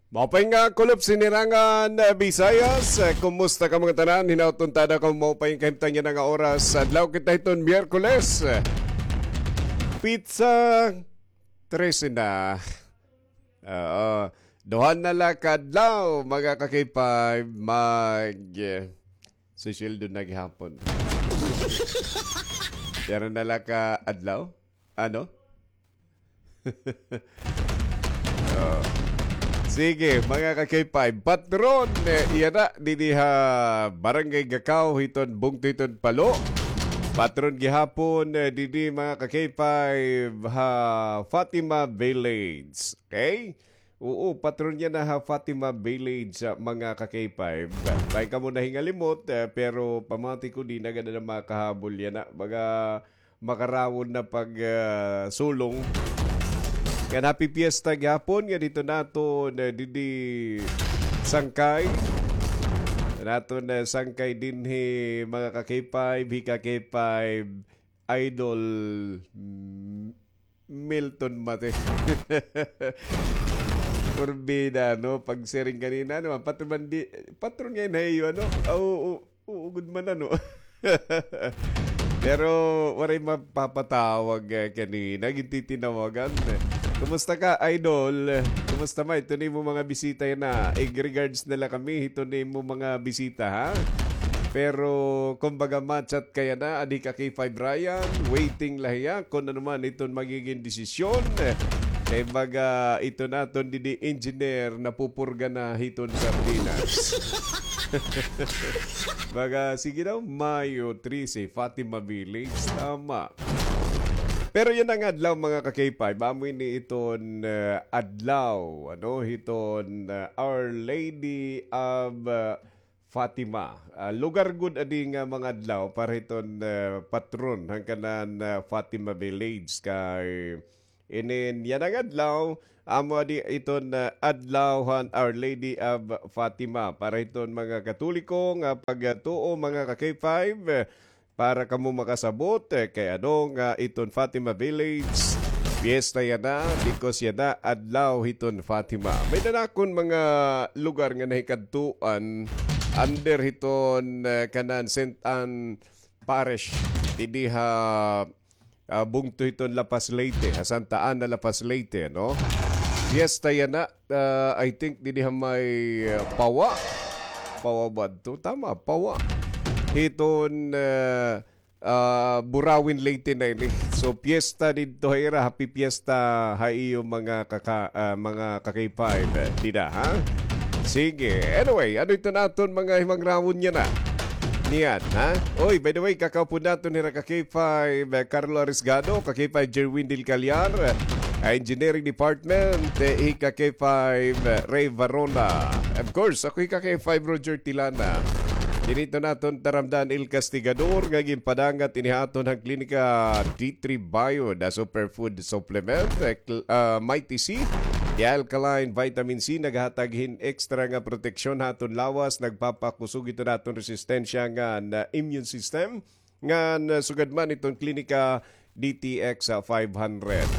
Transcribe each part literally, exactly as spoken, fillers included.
Maupay nga kulop sinirangan, eh, Visayas. Eh, kumusta kamo ngatanan? Hinaot unta ako maupay nga kahimtang yana nga oras. Adlaw kita hiton Miyerkules. Petsa trese na. Oo. Duha na la ka adlaw, mga ka-K five, mag, eh, sisweldo na gihapon. Pero na la ka adlaw? Ano? Oh. Sige, mga ka-K five. Patron, eh, yana, didi ha Barangay Gakaw, hiton bungto hiton Palo. Patron gihapon, eh, didi, mga ka-K five, ha Fatima Village. Okay? Oo, patron yana ha Fatima Village, ah, mga ka-K five. Bangin kamo nahingalimot, eh, pero pamati ko, di na gad na makahabol yana. Baga, makarawon na pag, ah, sulong. Ngan happy fiesta gihapon ngan didto naton, eh, didi sangkay. Naton, eh, sangkay dinhi, mga ka-K five, hi ka-K five, Idol, mm, Milton Mate. Porbida, no? Pagsiring kanina, no? Patron man di, patron ngay-an ha iyo, ano? Ah, oo, oo, gud man, ano? Pero waray mapapatawag, eh, kanina. Gintitinawagan. Kumusta ka, idol? Kumusta man iton imo mga bisita yana? Ig regards na la kami hiton imo mga bisita, ha? Pero, kumbaga, ma-chat ka yana, adi ka kay Five Ryan, waiting la hiya, kon ano man iton magiging desisyon. Kay baga, iton aton didi engineer, napupurga na hiton sardinas. Baga, sige daw, Mayo trese, Fatima Village, tama. Pero yana nga adlaw, mga ka-K five, amo ini iton, eh, adlaw, ano, hiton, eh, Our Lady of, eh, Fatima. Ah, lugar gud adi nga mga adlaw para hiton, eh, patron han kanan, eh, Fatima Village kay inin yana nga adlaw, amo adi iton, eh, adlaw han Our Lady of Fatima para hiton mga Katoliko nga pagtuo, mga ka-K five, eh, para kamo makasabot, eh, kay ano nga iton Fatima Village, fiesta yana, because yana adlaw hiton Fatima. May nanakon mga lugar nga nahikadtuan under hiton, eh, kanan Saint Ann Parish, didi ha, ah, bungto hiton La Paz, Leyte, ha Santa Ana, La Paz, Leyte, no? Fiesta yana, ah, I think, didi ha may, ah, Pawa. Pawa ba adto? Tama, Pawa. Hiton, ah, ah, Burauen, Leyte na ini. So, fiesta didto ha ira, happy fiesta ha iyo mga kaka-, ah, mga ka-K five, eh, dida, ha? Sige. Anyway, ano iton aton mga himangrawon yana? Niyan, ha? Oy, by the way, kakaupod naton hira ka-K five, eh, Carlo Arisgado, ka-K five Jerwin Del Callar, eh, Engineering Department, eh, hi ka-K five, eh, Ray Varona. Of course, ako hi ka-K five Roger Tilana. Dinhi iton aton taramdan, El Castigador, nga ginpadangat ini ha aton han Klinika D three Bio, the superfood supplement, eh, cl-, ah, Mighty C, the alkaline vitamin C, naghatag hin extra nga proteksyon ha aton lawas, nagpapakusog iton aton resistensya ngan immune system, ngan sugad man iton Klinika D T X five hundred.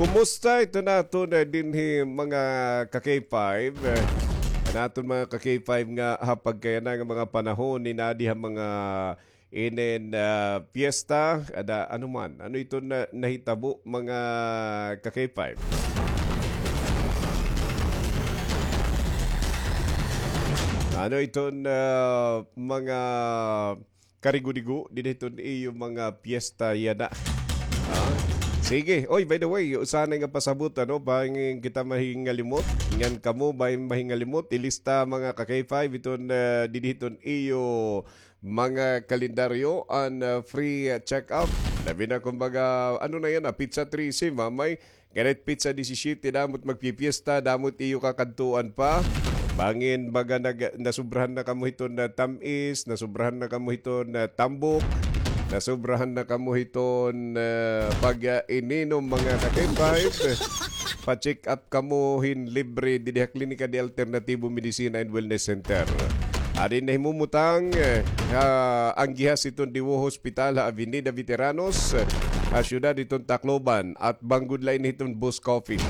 Kumusta iton aton, eh, dinhi mga ka-K five? Eh, an aton mga ka-K five nga ha pagkayana nga mga panahon, ini adi ha mga inin, ah, piyesta, ada, ano man, ano iton na, nahitabo, mga ka-K five? Ano iton, ah, mga karigo-digo dinhi hiton iyo mga piyesta yana? Ah, sige. Oy, by the way, usa na nga pasabot, ano, bangin kita mahingalimot. Ngan kamo, bangin mahingalimot, ilista, mga ka-K five, iton, ah, dinhi hiton iyo mga kalendaryo an, ah, free, ah, check-up. Labi na, kumbaga, ano na yana, petsa trese, mamay, karit petsa disisiyete, damo it magpipiyesta, damo it iyo kakadtuan pa. Bangin baga nag-, nasobrahan na kamo hiton, ah, tam-is, nasobrahan na kamo hiton, ah, tambok, nasobrahan na kamo hiton, ah, pag, ah, ininom, mga ka-K five. Pa-check up kamo hin libre didi ha Klinika de Alternativo Medicina and Wellness Center. Adi nahimumutang, eh, ha anggihas hiton Diwo Hospital ha Avenida Veteranos, eh, ha siyudad hiton Tacloban, at banggod la ini hiton Boss Coffee.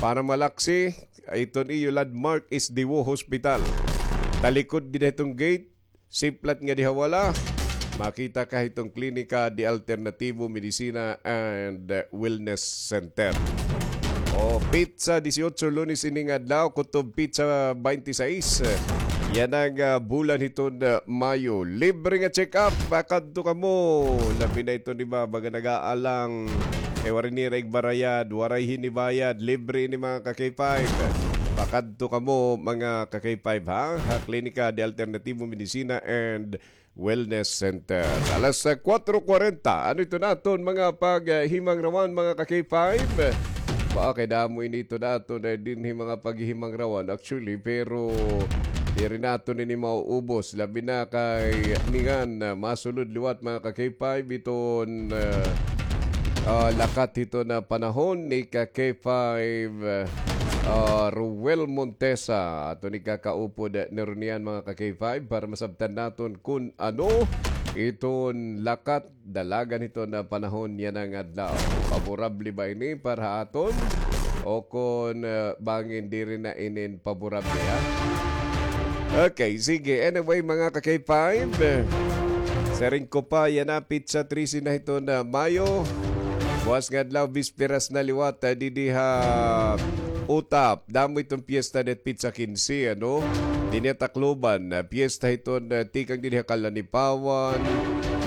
Para malaksi, iton iyo landmark is Diwo Hospital. Talikod dida hiton gate, siplat nga dida ha wala, makita ka hiton Klinika de Alternativo Medicina and, uh, Wellness Center. O, petsa disiotso, Lunes ini nga adlaw, kutob petsa baynte sais. Yana nga, ah, bulan hiton, ah, Mayo. Libre nga check-up, pakadto kamo. Labi na iton iba, baga nag-aalang. Kay waray nira igbarayad, waray hinibayad. Libre ini, mga ka-K five. Pakadto kamo, mga ka-K five, ha? Ha Klinika de Alternativo Medicina and Wellness Center. Alas, ah, kuwatro kwarenta. Ano ito naton mga paghimangrawan, mga ka-K five? Ba, kay damo ini ito naton, eh, dinhi mga paghimangrawan. Actually, pero diri naton ini mauubos. Labi na kay ningan, ah, masulod liwat, mga ka-K five, iton, ah, ah, lakat hiton panahon ni ka-K five, ah, Ruel Montesa. Aton ikakaupod ni Ronian, mga ka-K five, para masabtan naton kun ano iton lakat dalagan hiton panahon yana nga adlaw. Favorable ba ini para ha aton? O kun, ah, bangin diri na inin favorable, ha? Okay, sige. Anyway, mga ka-K five, siring ko pa, yana petsa trese na hiton Mayo. Buwas nga adlaw, bisperas na liwat, ah, didi ha Utap. Damo iton piyesta didi petsa kinse, ano? Dinhi ha Tacloban, ah, piyesta hiton, ah, tikang didi ha Kalanipawan,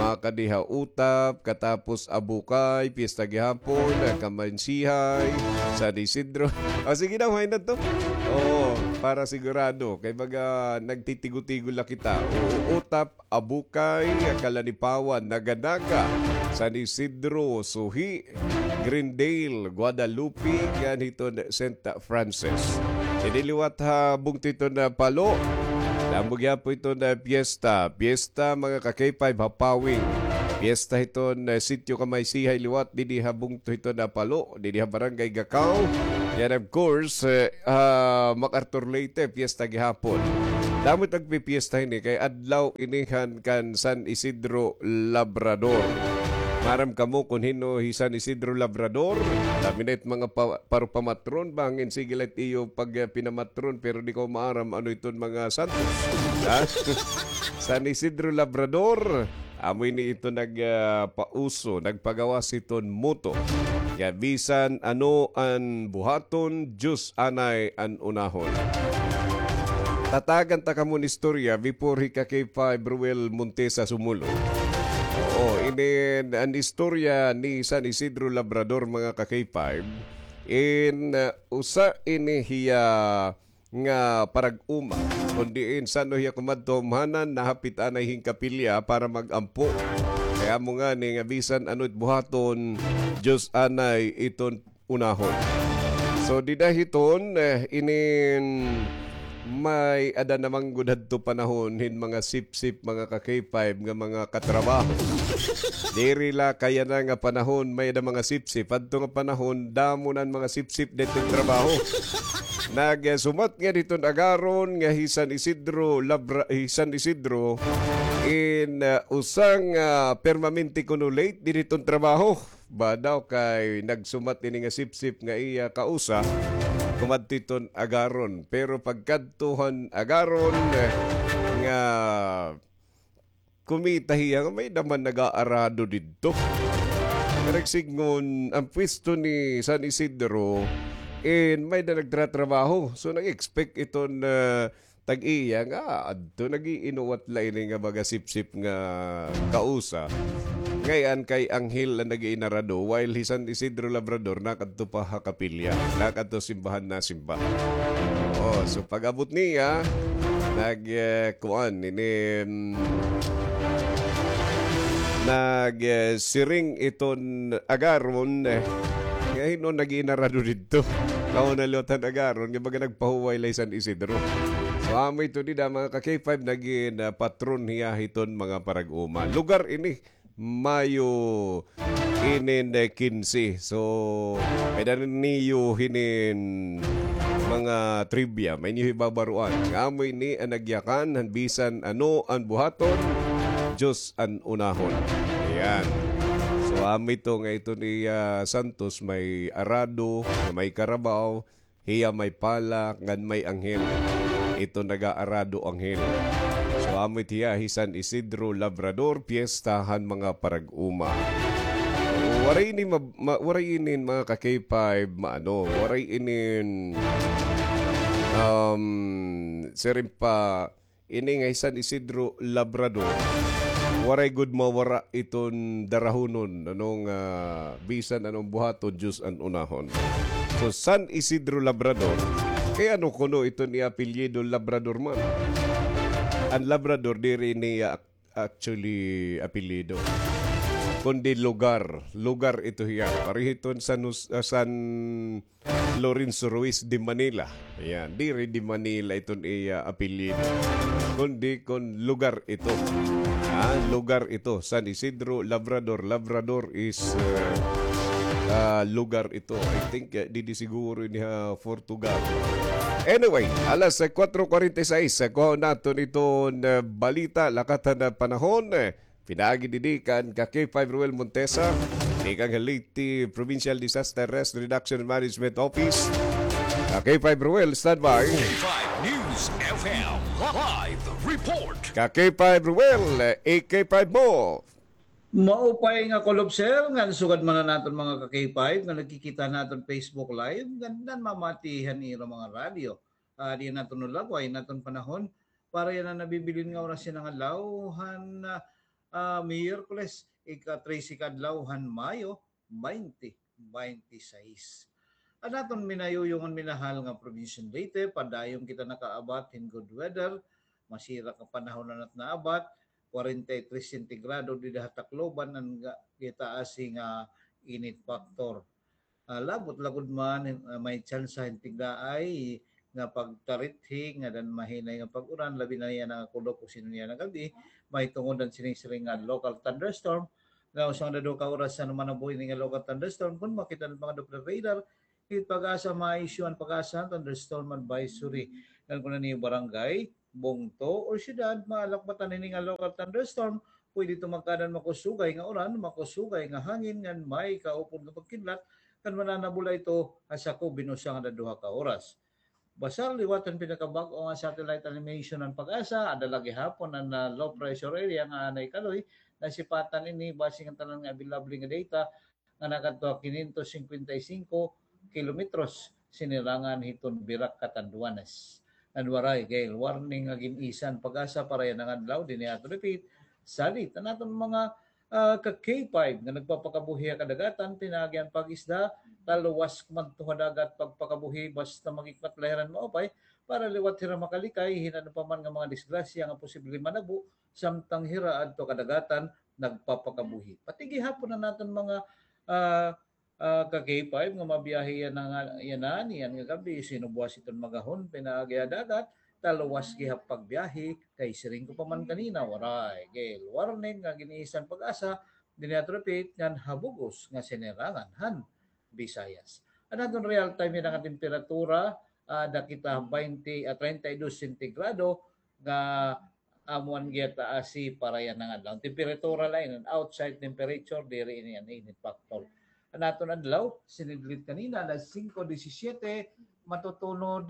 makadi ha Utap, katapos Abukay, piyesta gihapon, ah, Kamansihay, San Isidro. O, sige na, why not to? Oo, para sigurado. Kay baga nagtitigo-tigo la kita. Oo, Utap, Abukay, Kalanipawan, Naga-Naga, San Isidro, Suhi, Greendale, Guadalupe, ngan hiton Saint Francis. Didi liwat ha bungto hiton Palo, damo gihapon iton piyesta. Piyesta, mga ka-K five, ha Pawing. Piyesta hiton, ah, Sitio Kamaysihay liwat, didi ha bungto hiton Palo, didi ha Barangay Gacao. Yan, of course, eh, ah, MacArthur Leyte, piyesta gihapon. Damo it nagpipiyesta hini kay adlaw ini han kan San Isidro Labrador. Maaram kamo kun hin-o hi San Isidro Labrador? Labi na it mga pa-, paro pamatron, bangin sige la it iyo pag, ah, pinamatron, pero di ko maaram ano iton mga santos. Ha? San Isidro Labrador. Amo ini ito nag, ah, pauso, nagpagawas hiton motto nga bisan ano an buhaton, Diyos anay an unahon. Tatagan ta kamo hin istorya before hi ka-K five Ruel Montesa sumulod. Oo, inin an istorya ni San Isidro Labrador, mga ka-K five, in, ah, usa ini hiya nga parag-uma, kon diin san-o hiya kumadto umhanan, nahapit anay hin kapilya para mag-ampo. Kay amo ngani nga bisan ano it buhaton, Diyos anay iton unahon. So, dida hiton, eh, inin may-ada na man gud hadto panahon hin mga sipsip, mga ka-K five, nga mga katrabaho. Diri la kay yana nga panahon may-ada mga sipsip. Hadto nga panahon, damo na an mga sipsip didto trabaho. Nagsumat ngani hiton Agaron nga hi San Isidro Labra-, hi San Isidro in, ah, usa nga permanente kuno late didi hiton trabaho. Ba daw kay nagsumat ini nga sipsip nga iya kausa, kumadto hiton Agaron. Pero pagkadto han Agaron, eh, nga kumita hiya nga may-ada man nag-aarado didto. Nagsidngon an pwesto ni San Isidro, in may-ada nagtratrabaho. So, nag-expect iton, ah, tag-iya nga adto nag-iinuwat la ini nga mga sipsip nga kausa. Ngay-an kay anghel an nag-iinarado, while hi San Isidro Labrador nakadto pa ha kapilya, nakadto simbahan nasimba. Oh, so pag-abot niya, nag, eh, kuan, ini, mm, nag, eh, siring iton Agaron, eh, nga hin-o nag-iinarado didto. Kauna liwat han Agaron, nga baga nagpahuway la hi San Isidro. So, amo ito dida, mga ka-K five, nagin, ah, patron hiya hiton mga parag-uma. Lugar ini, Mayo inin, eh, kinse. So, may-ada niyo hinin mga trivia, may niyo hibabaroan. Nga amo ini an nagyakan han bisan ano an buhaton, Diyos an unahon. Ayan. So, amo ito nga ito ni, ah, Santos, may arado, may karabaw, Hiya may pala ngan may anghel. Ito nag-aarado anghel. So, amo it hiya hi San Isidro Labrador, piyesta han mga parag-uma. Waray ini ma-, ma-, waray ini mga ka-K five, maano, waray ini, um, siring pa, ini nga hi San Isidro Labrador, waray gud mawara iton darahonon, ano nga, bisan ano an buhaton, Diyos an unahon. So, San Isidro Labrador, kay ano kuno iton iya apelyido Labrador man? An Labrador, diri niya ac-, actually apelyido, kundi lugar. Lugar ito hiya. Pareho iton San Jos-, ah, San Lorenzo Ruiz de Manila. Ayan, diri de Manila iton iya apelyido, kundi kon lugar ito. Ah, lugar ito, San Isidro Labrador. Labrador is, uh, uh, lugar ito. I think, uh, didi siguro ini ha Portugal. Anyway, alas, uh, kuwatro kuwarenta y seis, uh, kuhaon naton iton, uh, balita, lakat han, uh, panahon. Pinaagi didi kan ka-K five Ruel Montesa, tikang Leyte Provincial Disaster Risk Reduction Management Office. Ka-K five Ruel, standby. K five News F M live report. Ka-K five Ruel, eh, K five mo. Maupay nga kulob, sir, ngan sugad man an aton mga ka-K five nga nagkikita naton Facebook Live, ngan namamati han ira mga radyo. Ah, diyan naton nalagway, naton panahon, para yana nabibilin nga oras yana nga adlaw han, ah, ah, Miyerkules, ika-trese ka adlaw han Mayo, baynte baynte y seis. An aton minayuyong ngan minahal nga Provincial Leyte, padayon kita nakaabat hin good weather, masira nga panahon an aton naabat, kwarenta y tres sentigrado dida ha Tacloban an ga-, gitaasi nga init factor. Ah, labot la gud man, ah, may tsansa hin tigdaay nga pagtarithi, ngada hin mahinay nga pag-uran, labi na yana nga kulop o sino yana nga gab-i, mahitungod an sining-siring nga local thunderstorm. Nga usa nga duha ka oras han manabuhi ini nga local thunderstorm, kon makita an mga Doppler radar, it PAGASA, ma-issue an PAGASA thunderstorm advisory. Ngan kon an iyo barangay, bungto, or syudad, maalakbatan hini nga local thunderstorm, pwede ito magkaadan makusugay nga uran, makusugay nga hangin, ngan may kaupod nga pagkidlat, ngan mananabula ito ha sakop hin usa ngada duha ka oras. Basta liwat han pinakabag-o nga satellite animation han PAGASA, ada la gihapon an, ah, low pressure area nga anay kaloy, nasipatan ini basi ngan tanan nga available nga data, nga nakadto ha kinyentos singkwenta y singko kilometros sinirangan hiton Virac, Catanduanes. Ngan waray gale warning nga gin-isa han PAGASA para yana nga adlaw, dinhi aton repeat, salit an aton mga, ah, ka-K five nga nagpapakabuhi ha kadagatan, pinaagi han pag-isda, taluwas madto ha dagat pagpakabuhi, basta magikmat la hira hin maupay, para liwat hira makalikay hin ano pa man nga mga disgrasya nga posible manabo, samtang hira adto kadagatan nagpapakabuhi. Pati gihapon an aton mga, ah, ah, ka-K five nga mabiyahe yana nga, yana, niyan nga gab-i, sino buwas iton magahon pinaagi ha dagat, taluwas gihap pagbiyahe, kay siring ko pa man kanina, waray gale warning nga gin-isa han PAGASA, dinhi aton repeat, ngan ha bug-os nga sinirangan han Visayas. An aton real time yana nga temperatura, ah, ada kita baynte, ah, treinta y dos sentigrado nga amo an giyataasi para yana nga adlaw. An temperatura la ini, an outside temperature, diri ini an init factor. An aton adlaw, sinidlit kanina, alas singko disisiete, matutunod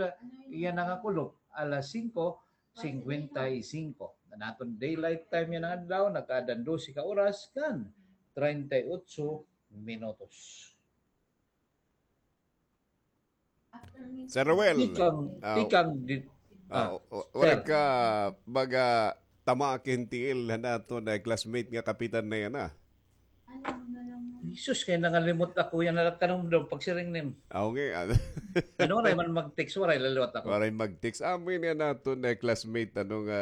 yana nga kulop, alas singko singkwenta y singko. An aton daylight time yana nga adlaw, nagkaadan dose ka oras ngan treinta y ocho minutos. Sir Ruel, tikang, ah, tikang di-, ah, ah, wa-, waray ka baga tama ki hin tiil han aton, eh, classmate nga kapitan na yana, ah. Jesus, kay nangalimot ako yana, tanom daw pagsiring nim. Aw, nga, ah. Ano, waray man mag-text, waray la liwat ako. Waray mag-text. Amo ini an aton, eh, classmate, ano nga,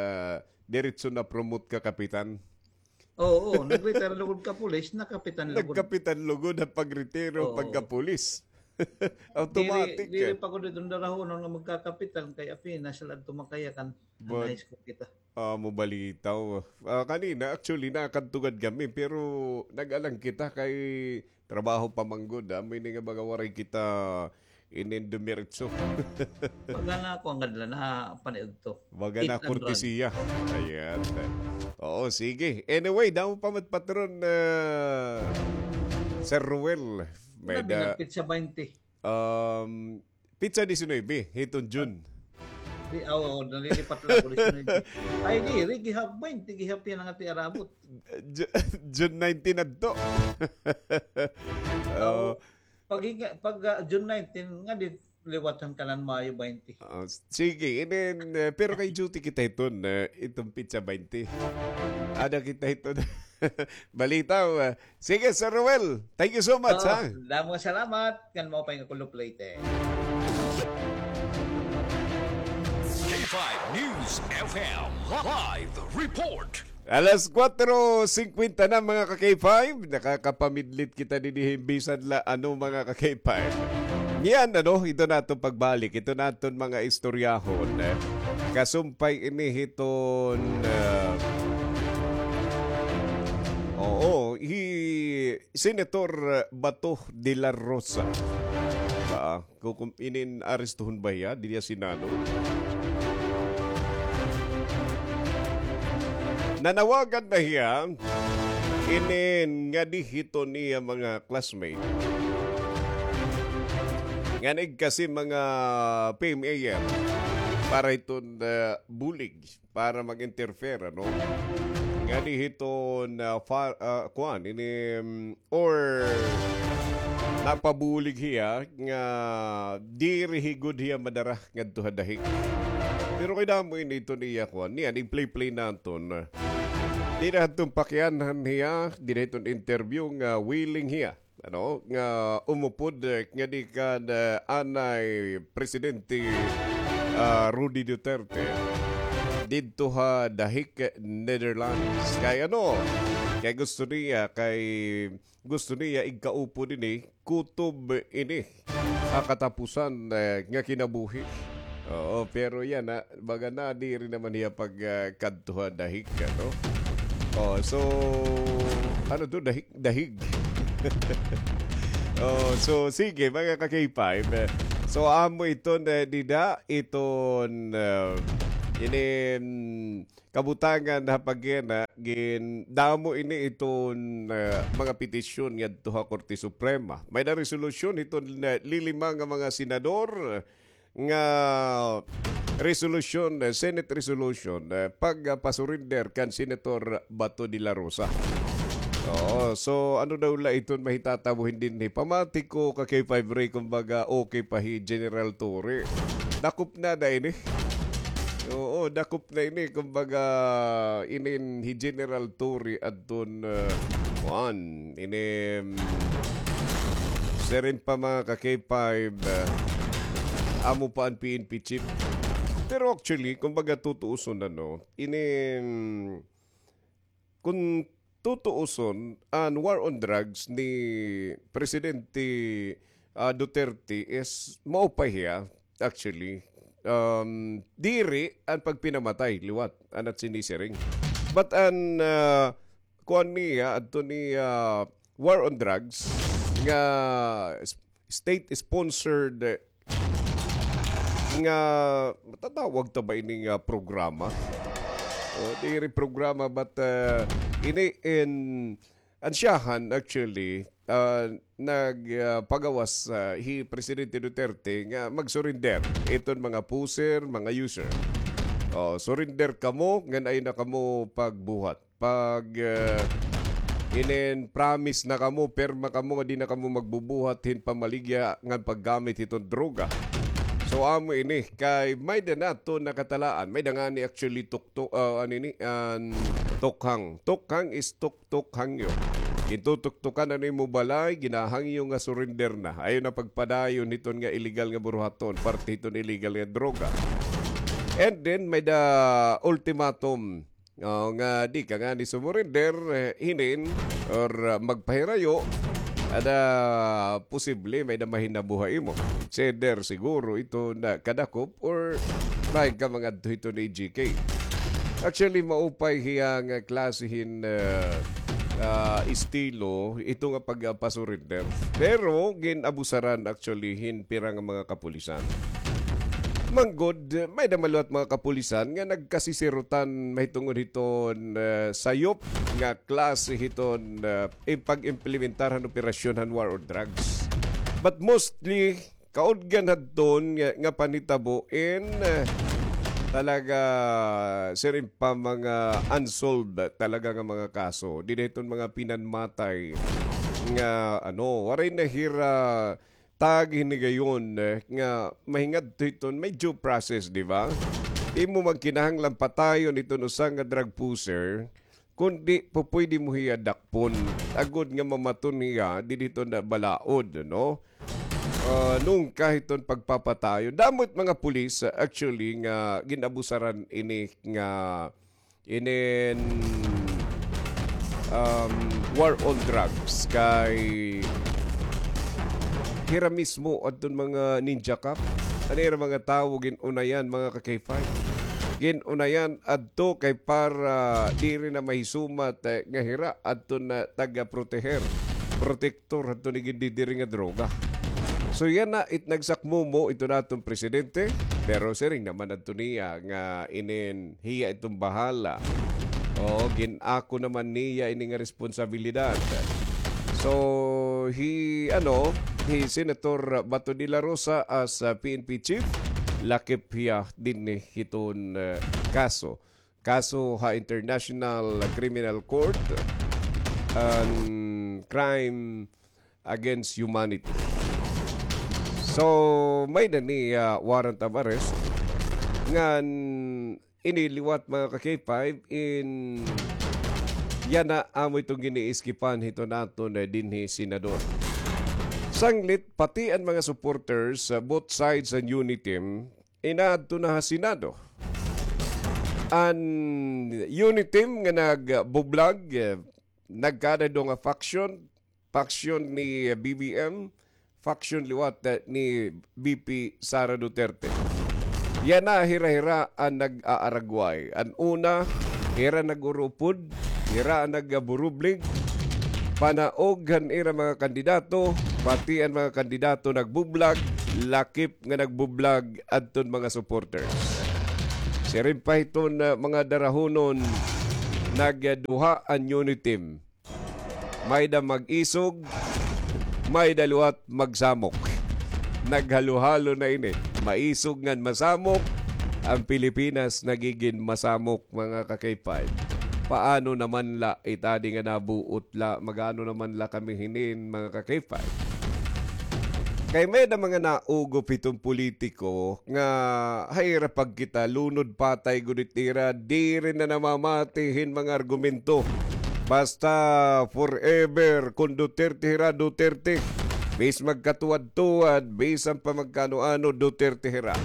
diretso na-promote ka kapitan. Oo, oo. Nag-retire lugod ka pulis, nakapitan lugod. Nagkapitan lugod ha pagretiro, oo, pagkapulis. Automatic, diri, diri eh. Pa ko dito darahonon nga magkakapitan kay apinas la adto makayakan. But, high school kita. Ah, mabalitaw. Ah, kanina, actually, nakadto gad kami, pero nag-alang kita kay trabaho pa man gud, ah. Amo ini nga baga waray kita inin dumiretso. Baga na ako ang adla na paniudto. Baga na kortesiya. Ayan. Oo, sige. Anyway, damo pa mat patron, ah, Sir Ruel. May da-, binagpit sa baynte. Um, Pitsa diecinuebe, hiton June. Di, aw, aw, nalilipat la ako, diecinuebe. Ay, diri, gihap baynte, gihap yana nga tiarabot. Ju-, June nineteen adto. Aw, oo. Pag, pag, ah, June nineteen, nga di liwat han kanan Mayo baynte. Ah, sige, inin, eh, pero kay duty kita hiton, eh, hiton pitsa baynte. Ada kita hiton balita, ah, Sige, Sir Ruel. Thank you so much, ha? Damo nga salamat. Ngan maupay nga kulop Leyte. K five News F M live report. Alas kwatro singkwenta na, mga ka-K five. Nakakapamidlit kita dinhi bisan la ano, mga ka-K five. Niyan, ano, ito na aton pagbalik. Ito na aton mga istoryahon. Kasumpay ini hiton, ah, oo, hi Senator Bato de la Rosa. Ah, kukum-, inin arestuhon ba hiya? Diri hiya sinalo. Nanawagan na hiya inin ngadi hiton iya mga classmate. Ngan igkasi mga P M A R para hiton, ah, bulig. Para mag-interfere, ano? Ngadi hiton, ah, fa-, ah, kuan, ini, mm, or napabulig hiya nga diri hi gud hiya madara ngadto ha Dahig. Pero kay damo ini iton iya kuan, niyan, i-play-play naton. Diri hiton pakianhan hiya, diri hiton interview nga willing hiya ano, nga umupod, eh, ngadi kan, eh, anay Presidente, ah, Rudy Duterte didto ha Dahig, Netherlands. Kay ano, kay gusto niya, kay gusto niya igkaupod ini, kutob ini ha katapusan, eh, nga kinabuhi. Oo, pero yana, baga nadiri naman hiya pag, ah, kadto ha Dahig, ano? Oh, so, ano to, Dahig? Dahig. Oh, so, sige, mga ka-K five. So, amo iton, eh, dida, iton, ah, ini, mm, kabutangan ha pag-, gin-, damo ini iton, ah, mga petisyon ngadto ha Korte Suprema. May-ada resolusyon iton, ah, lilima nga mga senador, nga resolution, eh, Senate resolution, eh, pag, ah, pa-surrender kan Senator Bato de la Rosa. Oo, so ano daw la iton mahitatabo hin dinhi? Pamati ko ka K five Ray, kumbaga, okay pa hi General Torre. Dakop na da ini. Oo, dakop na ini, kumbaga, inin hi General Torre adton, eh, kuan, ini, mm, siring pa mga ka K five, eh, amo pa an P N P chief. Pero actually, kumbaga tutuuson, ano, ini, mm, kun tutuuson, an war on drugs ni Presidente, ah, Duterte is maupay hiya, actually. Um, diri an pagpinamatay liwat, an at sinisiring. But an, ah, kuan niya, adto ni, ah, war on drugs, nga s-, state-sponsored, eh, nga, matatawag ta ba ini nga programa? O, diri programa, but, ah, ini in, an siyahan, actually, ah, nag, ah, pagawas, ah, hi Presidente Duterte nga mag-surrender iton mga poser, mga user. O, surrender kamo, ngan ayaw na kamo pagbuhat. Pag, ah, inin promise na kamo, pirma kamo nga di na kamo magbubuhat hin pamaligya ngan paggamit hiton droga. So, amo ini, kay may-ada naton nakatalaan, may-ada ngani actually tuktok, ah, ano ini, an tukhang. Tukhang is tuktok hangyo. Gintutuktokan an imo balay, ginahangyo nga surrender na. Ayaw na pagpadayon hiton nga illegal nga buruhaton, parte hiton illegal nga droga. And then, may-ada ultimatum. O, nga di ka ngani sumurrender, eh, hinin, or, ah, magpahirayo, ada posible may-ada mahinabo ha imo. Either siguro ito na kadakop or may ka mangadto hito ni G K. Actually, maupay hiya nga klase hin, ah, ah, estilo, ito nga pagpasurrender. Pero gin-abusaran actually hin pira nga mga kapulisan. Manggod, may-ada man liwat mga kapulisan nga nagkasisirutan mahitungod hiton, eh, sayop nga klase hiton, eh, pag-implementar han operasyon han war on drugs. But mostly, kaudgan hadton nga, nga panhitabo in, eh, talaga, siring pa, mga unsolved talaga nga mga kaso. Dida hiton mga pinanmatay nga, ano, waray na hira tag hinigayon, eh, nga mahingadto hiton may due process, di ba? Imo magkinahanglan patayon hiton usa nga drug pusher, kundi pupwede mo hiya dakpon. Agod nga mamaton hiya, didi hiton balaod, no? Ah, nungka hiton pagpapatayon. Damo it mga pulis, ah, actually, nga gin-abusaran ini nga inin, um, war on drugs kay hira mismo adton mga ninja cop. An ira mga tawo gin-unayan, mga ka-K five. Gin-unayan adto kay para diri na mahisumat, eh, nga hira adton taga-proteher, protektor adton gindidiri nga droga. So, yana it nagsakmumo iton aton presidente, pero siring naman adto niya nga inin hiya iton bahala. O, gin-ako naman niya ini nga responsibilidad. So, hi, ano, hi Senator Bato de la Rosa as, uh, P N P chief, lakip hiya dinhi hiton, uh, kaso. Kaso ha International Criminal Court, an crime against humanity. So, may-ada ni, ah, warrant of arrest ngan ini liwat, mga ka-K five, in yana amo iton giniiskipan hiton aton, eh, dinhi senador. Sanglit, pati an mga supporters, ah, both sides an UNITIM, inaadto na ha Senado. An UNITIM nga nagbublag, eh, nagkada duha nga faction, faction ni B B M, faction liwat, eh, ni V P Sara Duterte. Yana hira-hira an nag-aaragway. An una, hira nag-urupod, hira an nagaburublig, panaog han ira mga kandidato, pati an mga kandidato nagbublag, lakip nga nagbublag adton mga supporters. Siring pa hiton, ah, mga darahunon, nagduha an UNITIM. May-ada mag-isog, may-ada liwat magsamok. Naghalo-halo na ini. Maisog ngan masamok, an Pilipinas nagigin masamok, mga ka-K five. Paano naman la it adi nga nabuot la, mag-ano naman la kami hinin, mga ka-K five? Kay may-ada mga naugop hiton politiko nga ha ira pagkita, lunod patay gud it ira, diri na namamati hin mga argumento. Basta forever, kon Duterte hira, Duterte. Bis magkatuwad-tuwad, bisan pa magkaano-ano, Duterte hira.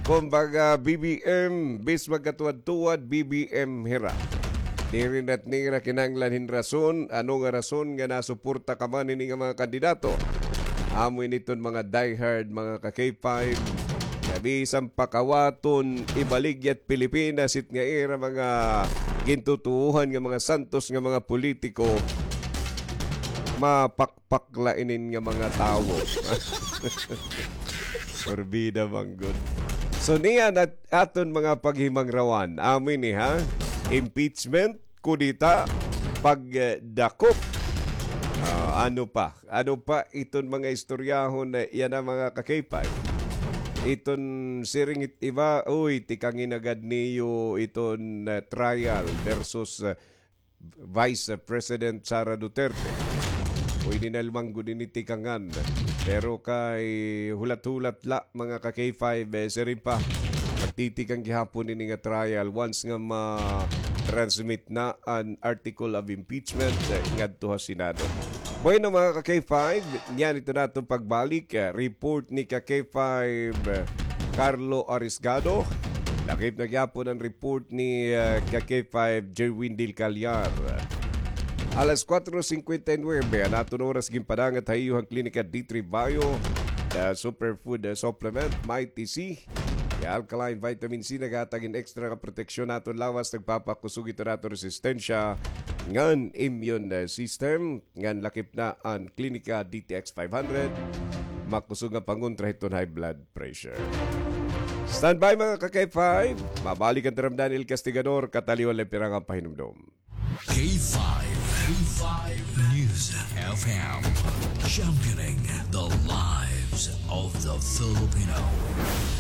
Kumbaga, B B M, bis magkatuwad-tuwad, B B M hira. Diri na nira kinahanglan hin rason, ano nga rason nga nasuporta ka man hini nga mga kandidato. Amo ini iton mga diehard, mga ka-K five, nga bisan pa kawaton, ibaligya it Pilipinas, it nga ira mga gintutuohan nga mga santos nga mga politiko, mapakpak la inin nga mga tawo. Porbida man gud. So, niyan an aton mga paghimangrawan. Amo ini, ha? Impeachment, kudeta, pagdakop. Ah, ano pa? Ano pa iton mga istoryahon na yana, mga ka-K five? Iton siring it iba, uy, tikangi na gad niyo iton, ah, trial versus, ah, Vice President Sara Duterte. Pwede na la man gud ini tikangan. Pero kay hulat-hulat la, mga ka-K five, eh, siring pa, magtitikang gihapon ini nga trial once nga ma-transmit na an article of impeachment, eh, ngadto ha Senado. Bueno, mga ka-K five, niyan iton aton pagbalik, eh, report ni ka-K five, eh, Carlo Arisgado. Lakip na gihapon an report ni, eh, ka-K five Jerwin Del Callar. Alas kuwatro singkwenta y nuwebe an aton oras, ginpadangat ha iyo han Klinika D three Bio, the superfood, eh, supplement, Mighty C. Kay alkaline vitamin C naghatag hin extra nga proteksyon ha aton lawas, nagpapakusog iton aton resistensya ngan immune, eh, system, ngan lakip na an Klinika D T X five hundred, makusog nga pangontra hiton high blood pressure. Standby, mga ka-K five, mabalik an taram Daniel Castigador, kataliwan la pirang pahinumdom. K five, K five News F M, championing the lives. of the Filipino.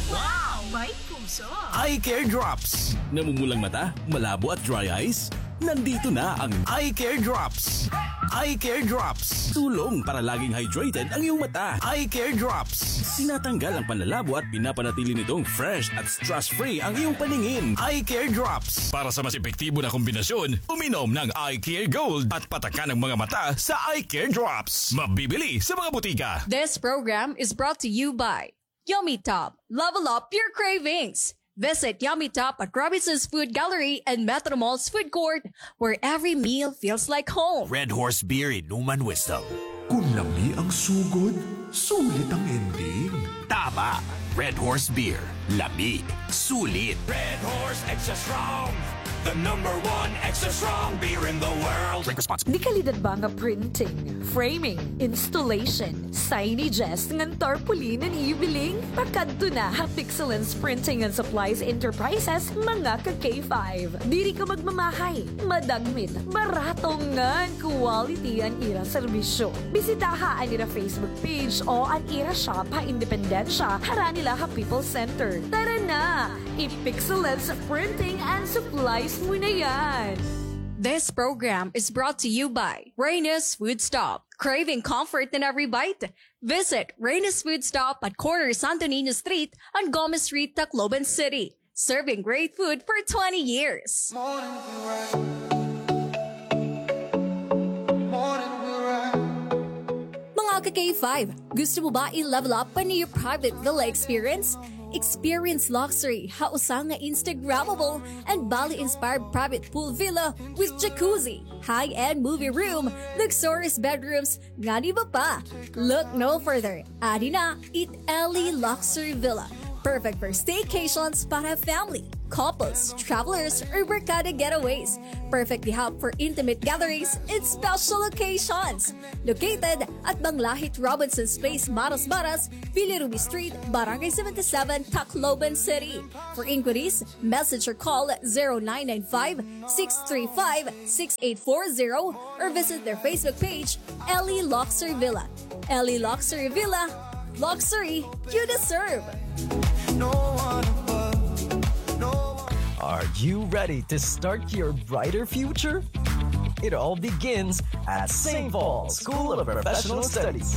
Wow! May puso! Eye Care Drops. Namumulang mata, malabo at dry eyes? Nandito na ang Eye Care Drops. Eye Care Drops. Tulong para laging hydrated ang iyong mata. Eye Care Drops. Tinatanggal ang panlalabo at pinapanatili nitong fresh at stress-free ang iyong paningin. Eye Care Drops. Para sa mas epektibo na kombinasyon, uminom ng Eye Care Gold at patakan ang mga mata sa Eye Care Drops. Mabibili sa mga butika. This program is brought to you by Yummy Top. Level up your cravings. Visit Yummy Top at Robinson's Food Gallery and Metro Mall's food court, where every meal feels like home. Red Horse Beer, inuman wisdom. Kung lami ang sugod, sulit ang ending. Tama! Red Horse Beer. Lami. Sulit. Red Horse Extra Strong. The number one extra strong beer in the world. Drink responsibly. Dekalidad ba nga printing, framing, installation, signages ngan tarpaulin an ibiling? Pakadto na ha Pixelens Printing and Supplies Enterprises, mga ka-K five. Diri ka magmamahay, madagmit, barato ngan quality an ira serbisyo. Bisitaha an ira Facebook page o an ira shop ha Independencia, harani la ha People's Center. Tara na! I-Pixelens Printing and Supplies mo na yan! This program is brought to you by Reyna's Food Stop. Craving comfort in every bite? Visit Reyna's Food Stop at corner Santo Niño Street and Gomez Street, Tacloban City. Serving great food for twenty years. Mga ka-K five, gusto mo ba i-level up pa an iyo private villa experience? Experience luxury ha usa nga Instagrammable and Bali-inspired private pool villa with jacuzzi, high-end movie room, luxurious bedrooms, ngan iba pa. Look no further. Adi na it Ellie Luxury Villa. Perfect for staycations para family, couples, travelers, or barkada getaways. Perfect di hap for intimate gatherings and special occasions. Located at Banglahit Robinson's Place, Maras Maras, Villa Ruby Street, Barangay seventy-seven, Tacloban City. For inquiries, message or call zero nine nine five, six three five, six eight four zero or visit their Facebook page, Ellie Luxury Villa. Ellie Luxury Villa, luxury you deserve. Are you ready to start your brighter future? It all begins at Saint Paul School of Professional Studies.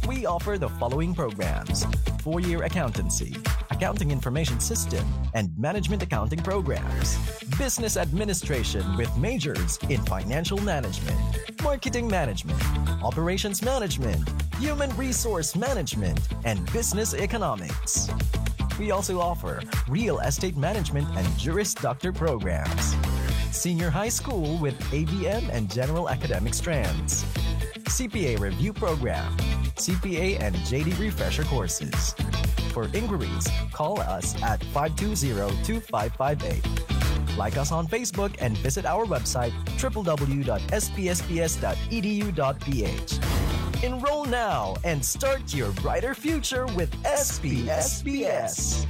We offer the following programs: four-year accountancy, accounting information system, and management accounting programs, business administration with majors in financial management, marketing management, operations management, human resource management, and business economics. We also offer real estate management and Juris Doctor programs, senior high school with A B M and general academic strands, C P A review program, C P A and J D refresher courses. For inquiries, call us at five two zero, two five five eight. Like us on Facebook and visit our website, triple W dot S P S P S dot E D U dot P H. Enroll now and start your brighter future with S P S P S.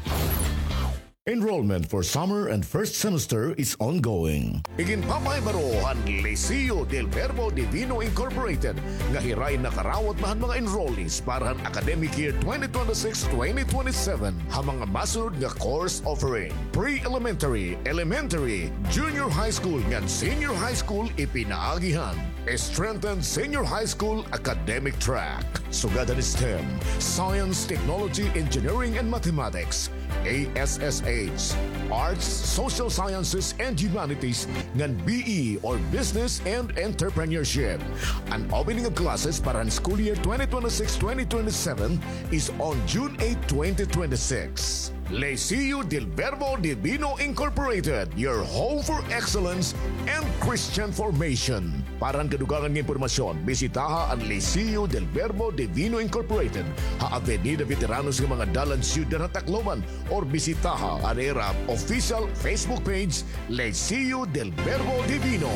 Enrollment for summer and first semester is ongoing. Iginpapahibaro han Liceo del Verbo Divino Incorporated nga hiray nakarawat na han mga enrollees para han academic year twenty twenty-six twenty twenty-seven ha mga masunod nga course offering: pre-elementary, elementary, junior high school ngan senior high school, ipinaagi han strengthened senior high school academic track, sugad han STEM, Science, Technology, Engineering, and Mathematics, A S S H, Arts, Social Sciences, and Humanities, ngan B E or Business and Entrepreneurship. An opening of classes para han school year twenty twenty-six twenty twenty-seven is on June eight, twenty twenty-six. Liceo del Verbo Divino Incorporated, your home for excellence and Christian formation. Para han kadugangan nga impormasyon, bisitaha an Liceo del Verbo Divino Incorporated ha Avenida Veteranos nga mga dalan, Syudad han Tacloban, or bisitaha an ira official Facebook page, Liceo del Verbo Divino.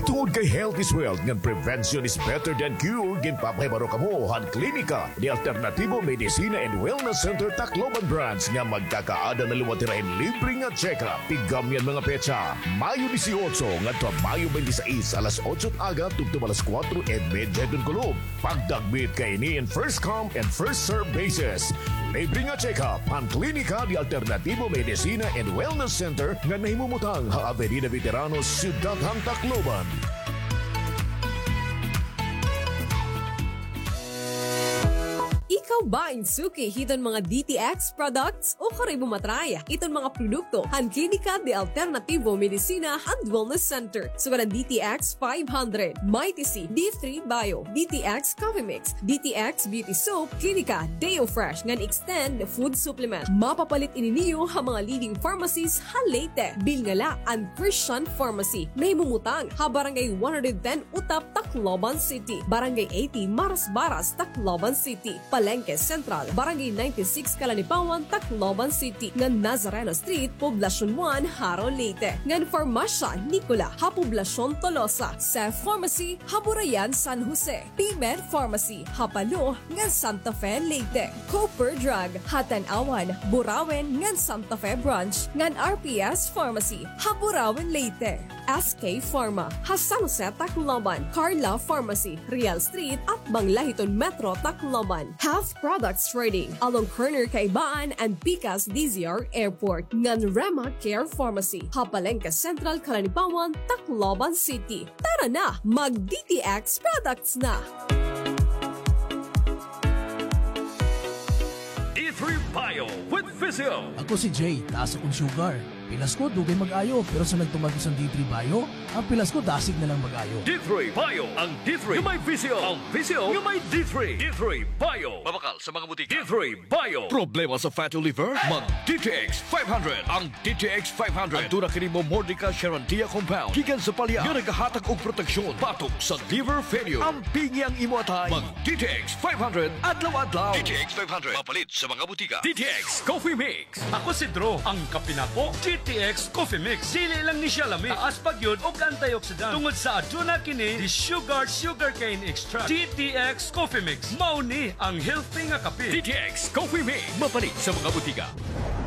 Tungod kay health is wealth ngan prevention is better than cure, ginpapahibaro kamo han Klinika de Alternativo Medicina and Wellness Center Tacloban Branch nga magkakaada na liwat hira hin libre nga check-up. Tigam niyan mga petsa, Mayo dieciocho ngadto ha Mayo twenty-six, alas otso aga tubtob alas kuwatro y medya hiton kulop. Pagdagmit kaini in first come and first serve basis. Libre nga check-up han Klinika de Alternativo Medicina and Wellness Center nga nahimumutang ha Avenida Veteranos, Syudad han Tacloban. Ikaw ba in suki hiton mga D T X products? Ukon kay bumatray hiton mga produkto han Klinika de Alternativo Medicina and Wellness Center, sugad han D T X five hundred, Mighty C, D three Bio, D T X Coffee Mix, D T X Beauty Soap, Klinika Deo Fresh ngan Extend Food Supplement. Mapapalit ini niyo ha mga leading pharmacies ha Leyte. Bilngala an Christian Pharmacy, nahimumutang ha Barangay one hundred ten Utap, Tacloban City, Barangay eighty Marasbaras, Tacloban City, Palengke Central, Barangay ninety-six Calanipawan, Tacloban City, ngan Nazareno Street, Poblacion one, Jaro, Leyte, ngan Farmasya Nicola ha Poblacion Tolosa, Seth Pharmacy ha Burayan, San Jose, P-Med Pharmacy ha Palo ngan Santa Fe, Leyte, Cooper Drug ha Tanauan, Burauen ngan Santa Fe Branch, ngan R P S Pharmacy ha Burauen, Leyte. S K Pharma ha San Jose, Tacloban, Carla Pharmacy, Real Street, atbang la hiton Metro Tacloban, Health Products Trading, along corner Kaibaan and pikas D Z R Airport, ngan Rema Care Pharmacy ha Palengke Central, Calanipawan, Tacloban City. Tara na, mag D T X products na! D three Bio with Physio. Ako si Jay, taas akon sugar. Pilas ko, dugay mag-ayo, pero sa nagtuman ko san D three Bio, an pilas ko dasig na lang mag-ayo. D three Bio, ang D three nga may Physio, ang Physio nga may D three. D three Bio. Mabakal sa mga butika. D three Bio. Problema sa fatty liver? Mag D T X five hundred. Ang D T X five hundred. Aduna kini Momordica charantia compound gikan sa palya nga nagahatag og proteksyon batok sa liver failure. Ampingi ang imo atay. Mag D T X five hundred adlaw-adlaw. D T X five hundred. Mapalit sa mga butika. D T X Coffee Mix. Ako si Drew, ang kape nako, D T X Coffee Mix. Dili lang ni siya lami, taas pa gyud og antioxidant tungod sa aduna kini di sugar, sugarcane extract. D T X Coffee Mix, mao ni ang healthy nga kape. D T X Coffee Mix, mapalit sa mga butika.